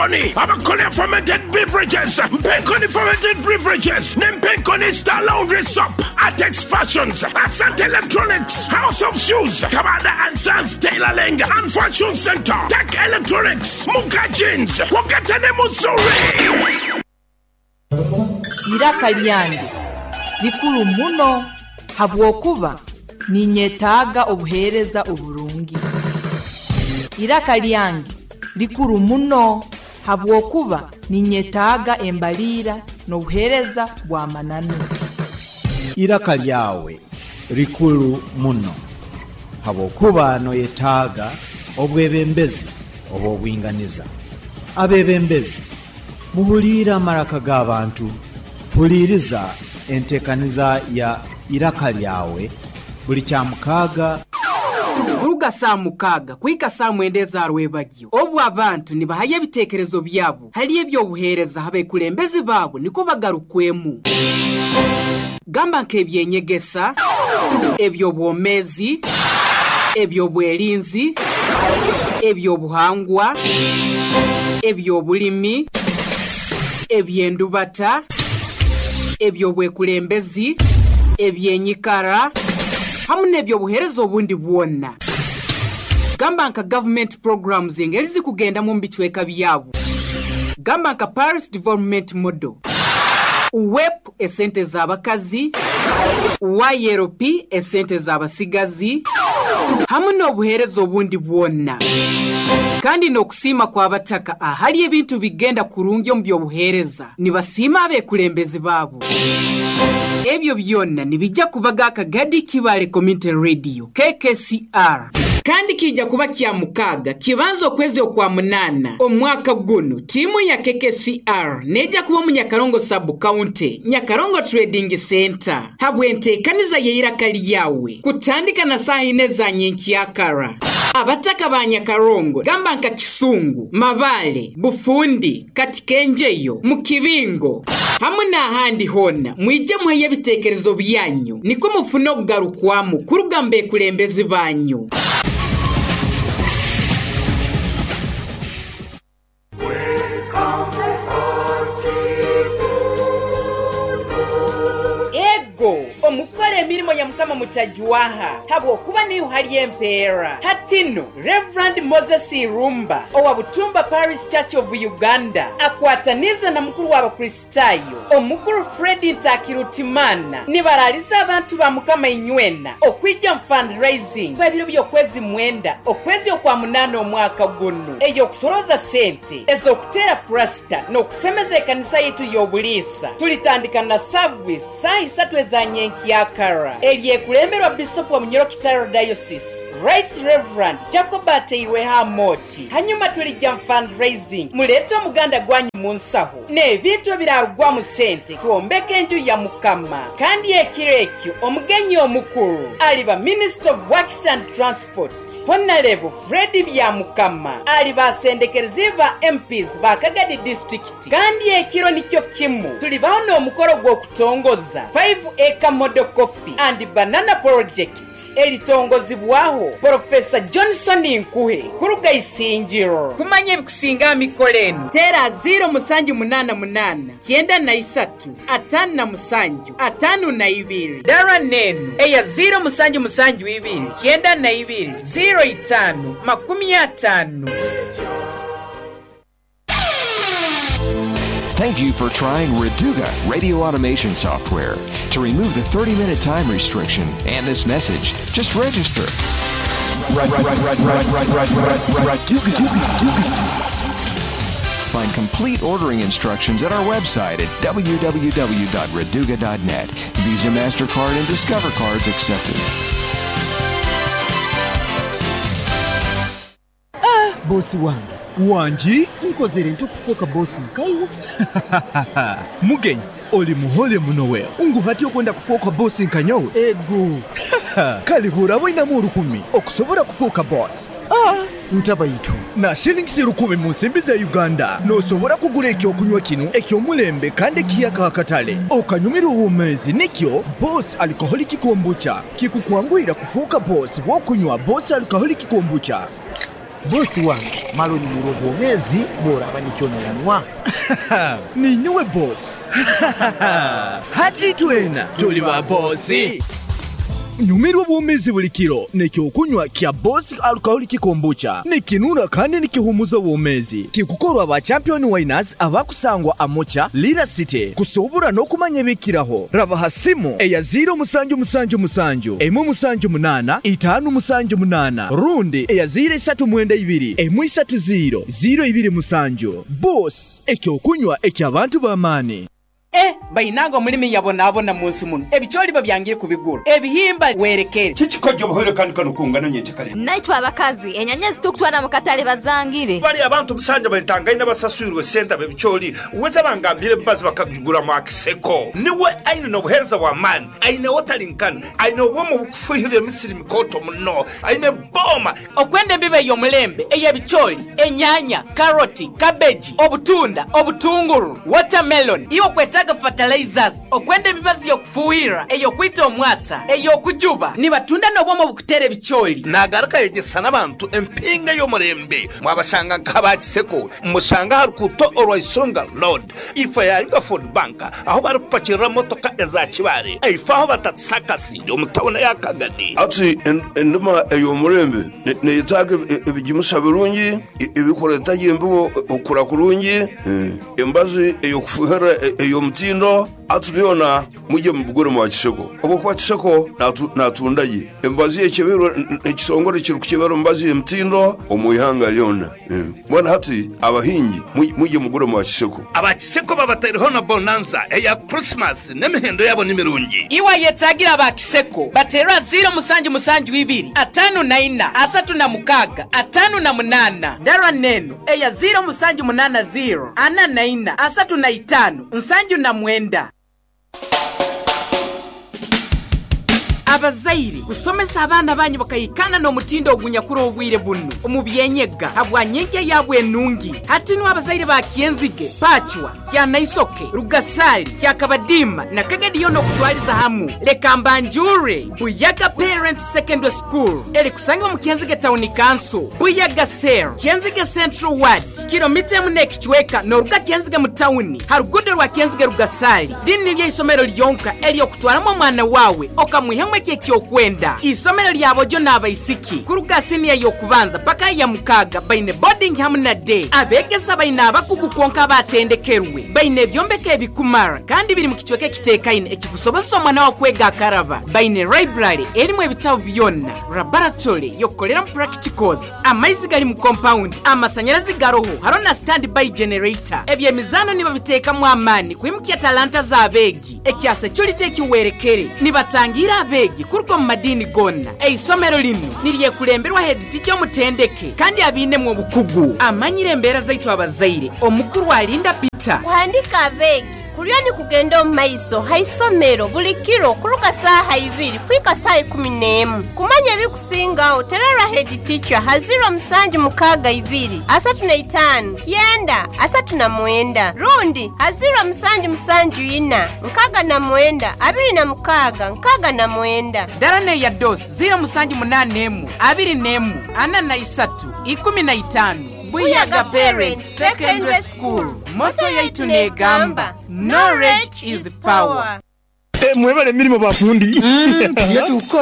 Mpenkoni abakola fermented beverages, Mpenkoni Fermented Beverages ne Mpenkoni Star Laundry Soap, Atex Fashions, Asante Electronics, House of Shoes, Kabanda and Sons Tailoring and Fashion Centre, Tech Electronics, Muka Jeans, kwogata ne Missouri. Iraka lyange likuru muno habwokuba ninyetaaga obuheereza oburungi. Iraka lyange likuru muno habwokuba ninyetaaga embaliira n'obuheereza bw'amananu. Iraka lyawe rikuru muno habwokuba noyetaaga obwebembezi obw'obwinganiza. Abebembezi, muhuliire amaraka g'abantu. Huliiriza enteekaniza ya Iraka Lyawe buli Kyamukaaga. Kuruga saaha mukaaga kuhika saaha mwenda eza rwebagyo, obu abantu nibahayo ebiteekerezo byabo hali eby'obuheereza habekulembezi baabo nikwo bagarukwemu. Gamba nk'ebyenyegesa, eby'obwomeezi, eby'obwerinzi, eby'obuhangwa, eby'obulimi, eby'endubata, eby'obwekulembezi, ebyenyikara, hamu n'eby'obuheereza obundi bwona. Gamba nka gavumenti programs engeri zikugendamu omu bicweka byabo. Gamba nka Paris Development Model, UWEP esente z'abakazi, YLP esente z'abasigazi, hamu n'obuheereza obundi bwona. Kandi n'okusiima kw'abataka ahali ebintu bigenda kurungi omu by'obuheereza, nibasiima abekulembezi baabo. Ebyo byona nibijja kubaga Akagadi Kibale Community Radio, KKCR. Kandi kiija kuba Kyamukaaga kibanza okwezi okwa munaana omwaka gunu, tiimu ya KKCR neija kuba omu Nyakarongo Sub County, Nyakarongo Trading Centre habw'enteekaniza y'eiraka lyawe kutandika na saaha ina eza nyenkyakara. Abataka ba Nyakarongo gamba nka Kisungu, Mabaale, Bufundi, Katikenjeyo, mu kibingo, hamu n'ahandi hoona, mwije muheyo ebiteekerezo byanyu nikwo mufune okugarukwamu kuruga mu bekulembezi banyu. Ego, omu kukora emirimo ya Mukama mutajwaha, habw'okuba niho hari empeera. Hati nu, Rev. Moses Irumba owa Butumba Parish Church of Uganda akwataniize na mukuru w'Abakristaayo Omukuru Fred Ntakirutimana nibaraaliza abantu ba Mukama inywena okwija omu fundraising kw'ebiro by'okwezi mwenda okwezi okwa munaana omwaka gunu ey'okusorooza sente ez'okuteera purasita n'okusemeza ekanisa yaitu y'obuliisa. Tulitandika na service saaha isatu eza nyenkyakara eryekulemberwa Bisopu wa Munyoro Kitaro Diocese, Right Rev. Jacob Ateirweho Amooti. Hanyuma tuligya mu fundraising. Muleete omuganda gwanyu mu nsaho n'ebintu ebiraarugwamu sente twombeke enju ya Mukama. Kandi ekiro ekyo omugenyi omukuru aliba Minister of Works and Transport, Honarebo Fred Byamukama. Aliba asendekereziibwe ba MPs ba Kagadi District. Kandi ekiro nikyo kimu tulibaho n'omukoro gw'okutongoza Five Acre Model Coffee and Banana Project. Eritongozibwaho Porofesa Johnson Nkuhe kuruga Isingiro. Kumanya ebikusinga aha mikoro enu, teera ziiro musanju munaana munaana, kyenda na isatu, ataano na musanju, ataano na ibiri. Dara n'enu eya ziiro musanju musanju ibiri, kyenda na ibiri, ziiro itaano, makumi ataano. Thank you for trying Reduga radio automation software. To remove the 30 minute time restriction and this message, just register. Find complete ordering instructions at our website at www.reduga.net. Visa, MasterCard, and Discover cards accepted. Boosi wange. Wangi? Nkozere nta okufuuka boosi nkaiwe? Mugenyi, oli muhole muno wewe. Ngu hati okwenda kufuuka boosi nka nyowe? Ego. Kale bw'oraba oinamu orukumi okusobora kufuuka boosi. Ntabaitu. Na shillings rukumi mu nsimbi za Uganda, noosobora kugura eky'okunywa kinu eky'omulembe kandi ekiyaka aha katale, okanyumirwa obwomeezi. Nikyo Boss Alcoholic Kombucha kikukwanguhira kufuuka boosi bw'okunywa Boss Alcoholic Kombucha. Bosi wange mara onyumirwe obwomeezi bw'oraaba nikyo noonywa. Ninyowe boss. Hati twena tuli ba boss. Nyumirwa obwomeezi buli kiro n'ekyokunywa kya Boss Alcoholic Kombucha. Nikinura kandi nikihumuza obwomeezi. Kikukorwa ba Champion Winers abakusangwa Amocha, Lira City. Kusuubura n'okumanya ebikiraho, raba ha simu eya ziiro musanju musanju musanju, emwe musanju munaana, itaanu musanju munaana rundi eya ziiro isatu mwenda ibiri, emwe isatu ziiro, ziiro ibiri musanju. Boss, ekyokunywa eky'abantu b'amaani. Eh bainange omulimi yabonabona munsi muno, ebicooli babyangire kubigura, ebihimba werekere. Kiki kojja obuhoire kandi kanu kungano nyenkyakare? Naitwe abakazi, enyanya ezitukutwara mu katale bazangire. Bari abantu musanja bentangaine abasaswirwe sente abebicooli weza bangambire embazi bakagigura mwa Kiseko. Niwe aine nobuhereza bwa maani, aine watering can, aine obwoma obukufuhirira emisiri mikooto muno, aine boma. Okwenda embibo ey'omulembe ey'ebicooli, enyanya, karoti, kabeji, obutunda, obutunguru, watermelon, iwe okwetaaga fertilizers, okwenda emibazi y'okufuuhirira, ey'okwita omwata, ey'okujuba, nibatunda n'obwoma obukuteera ebicooli. Nagaruka ayegyesa n'abantu empinga ey'omurembe. Mwabashanga nk'aba Kiseko, mushanga aha rukuuto orwa Isonga Road, ifo ya Yugafood Bank ahu barikupakirira motoka eza Kibaale, ifo ahu batatisa akasindi omu tauni eya Kagadi. Hati endima ey'omurembe neyetaaga ebigimusa birungi, ebirikureeta gye embibo okukura kurungi, embazi ey'okufuuhirira ey'omutindo. Hati byona mwije mubigure mwa Kiseko ahabw'okuba Kiseko naatunda gye emibazi ekyebeirwe ekitongore ekirikukyebera emibazi y'emitindo omu ihanga ryona. Mbwenu hati abahingi mwije mugure mwa Kiseko. Aba Kiseko babataireho na bonanza eya Kurisimasi n'emihendo yaabo ni mirungi. Iwe ayetaagira aba Kiseko bateerwa ziiro musanju musanju ibiri 54 36 58. Dara n'enu eya ziiro musanju munaana ziiro 44 35 79. Abazaire, kusomesa abaana banyu bakaikana n'omutindo ogunyakura obwire bunu omu by'enyega habwa nyenkya yaabo enungi. Hati nu abazaire ba Kyenzige, Pachwa, Kyanaisoke, Rugasali, Kyakabadiima na Kagadi yoona okutwaliza hamu, leka mbanjurre Buyaga Parents Secondary School erikusangibwa omu Kyenzige Town Council, Buyaga Cell, Kyenzige Central Ward, Kilomita emu n'ekicweka n'oruga Kyenzige mu tawuni ha ruguudo rwa Kyenzige-Rugasali. Linu niryo isomero lyonka ery'okutwaramu omwana waawe okamwihamu ekyo eki okwenda. Isomero lya boojo n'abaisiki kuruga siniya y'okubanza paka aha ya mukaaga baine boarding hamu na day. Abeegesa baine abakugu kwonka abatendekerwe. Baine ebyombeko ebikumara kandi biri mu kicweka ekiteekaine ekikusobozesa omwana waawe kwega akaraba. Baine library erimu ebitabu byona, laboratory y'okukoreramu practicals. Amaizi gari mu kompawundi, amasanyarazi garoho, hariho na stand by generator. Eby'emizaano nibabiteekamu amaani kwimukya talanta z'abeegi. Ekya securite ekiwerekere, nibatangiira abeegi kuruga omu madiini goona. Eisomero linu niryekulemberwa heeditica omutendeke kandi abiinemu obukugu. Amanyire embeera zaitu abazaire, Omukuru Alinda Peter. Kuhandiika abeegi Kuriyo nikugenda omu maiso ha isomero buli kiro kuruga saaha ibiri kuhika saaha 11. Kumanya ebikusingaho tererra head teacher ha ziro musanju mukaaga ibiri 35 9 39 rundi ha ziro musanju musanju ina 69 26 69. Dara n'eya dos 0781 21 43 15. Buyaga Parents Secondary School, motto yaitu neegamba, Knowledge is power. Mwebale emirimo bafundi.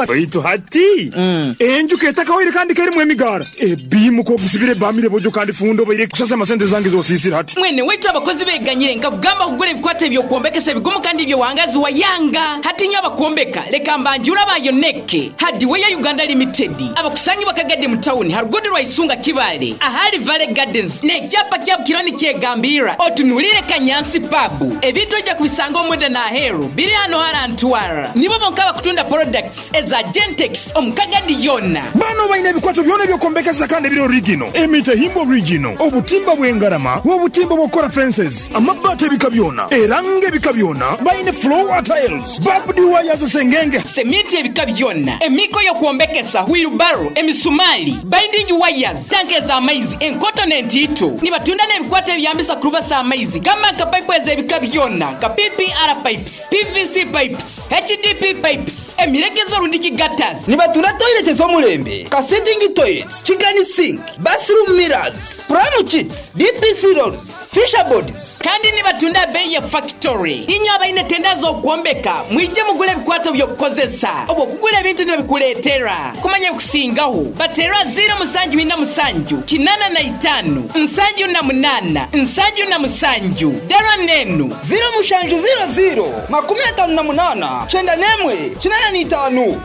Baitu hati enju ketakawaire kandi kerimu emigaara. Ebiimu k'ogisibire ebamire bojo kandi fundi obaire kusasama sente zange z'osiisire hati. Mwene waitu abakozi beganyire nkakugamba kugura ebikwato eby'okwombekesa ebigumu kandi eby'owangazi wayanga. Hati nyowe abakwombeka leka mbanjure aba Yoneke Hardware Uganda Limited abakusangibwa Kagadi mu tawuni ha ruguudo rwa Isunga Kibaale ahali Valley Gardens n'ekyapa kyabo kiriyo nikyegambirra otunuliire Kanyansi Pub. Ebintu oija kubisanga omunda n'aheeru biri hano hara Ntwara. Nibo bonka abakutunda products eza Gentex omu Kagadi yoona. Bano baine ebikwato byona eby'okwombekesa kandi ebiri origino, emitahimbwa origino, obutimba bw'engarama, obutimba obw'okukora fences, amabaati ebika byona, erangi ebika byona, baine floor tiles, Barbed wires sengenge. Seminti ebika byona, emiiko y'okwombekesa, wheelbarrow, emisumaali, binding wires, tanka ez'amaizi enkoto n'entiito. Nibatunda n'ebikwato ebiyambisa kurubasa amaizi gamba nka paipu ez'ebika byona nka PPR pipes, PVC pipes. Pipes, HDP Pipes, emiregezo rundiki gutters. Nibatunda toilet ez'omulembe nka sitting toilets, kigani sink, bathroom mirrors, pram kits, DPC rolls, fisher boards. Kandi nibatunda beeyi ya factory. Inywe abaine tenda z'okwombeka mwije mugule ebikwato by'okukozesa oba okugula ebintu nibabikuleetera. Kumanya ebikusingaho bateerwa ziiro musanju ina musanju 85 78 77. Dara n'enu. Ziiro mushanju ziiro ziiro 58 91 85.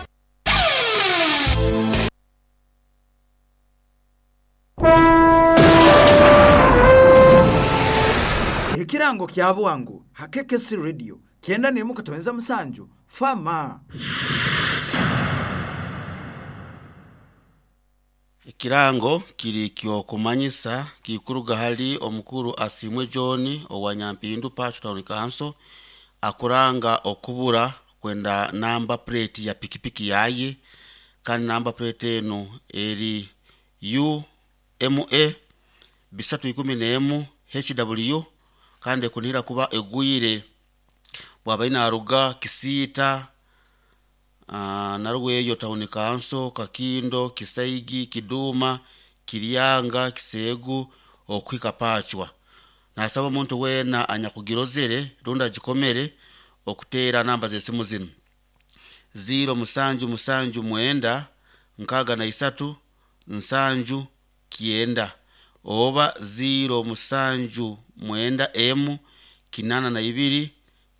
Ekirango kya bwangu ha KKC Radio 91.7 Fama. Ekirango kiri kyokumanyisa kikuruga hali omukuru Asiimwe John owa Nyampindu Pacho Town Council akuranga okubura kwenda namba plate ya pikipiki yaye kandi namba plate eno eri UMA 311 HW kandi ekunihira kuba egwire bwaba inaruga Kisiita Narweyo Town Council, Kakindo, Kisaigi, Kiduma, Kiryanga, Kisegu okuhika Pachwa. Nasaba omuntu weena anyakugirozere rundi agikomere okuteera namba z'esimu zinu 0 musanju musanju mwenda 63 nsanju 9 oba 0 musanju mwenda emu 82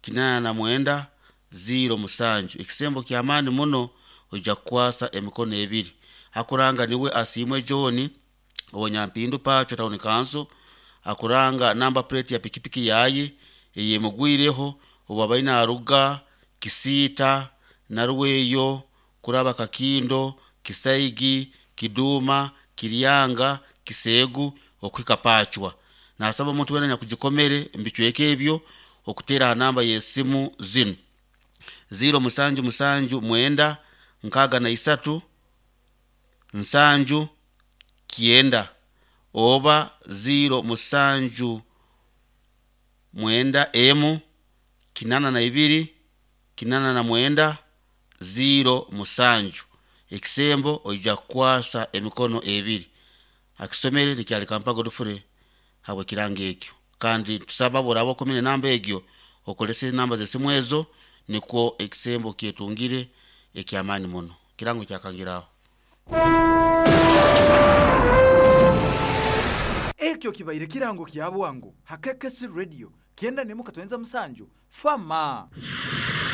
89 0 musanju. Ekisembo kyamaani muno ojja kukwasa emikono ebiri. Akuranga niwe Asiimwe John owa Nyampindu Pacho Town Council akuranga namba plate ya pikipiki yaye eyemugwireho obu naruga Kisiita Narweyo kuraba Kakindo Kisaigi Kiduma Kiryanga Kisegu okuhika Pachwa. Nasaba omuntu weena nyakugikomere mbicweka ebyo okuteera aha namba y'esimu zinu 0 musanju musanju mwenda 63 nsanju 9 oba 0 musanju mwenda emu 82 89 0 musanju. Ekisembo oija kukwasa emikono ebiri. Akisomere nikyali Kampa Godfrey habwe kirango ekyo. Kandi tusaba boraba okomire namba egyo okolese namba z'esimu ezo nikwo ekisembo kyetungire ekyamaani muno. Kirango kyakangiraho. Ekyo kibaire kirango kya bwangu ha KKC Radio 91.7 Fama.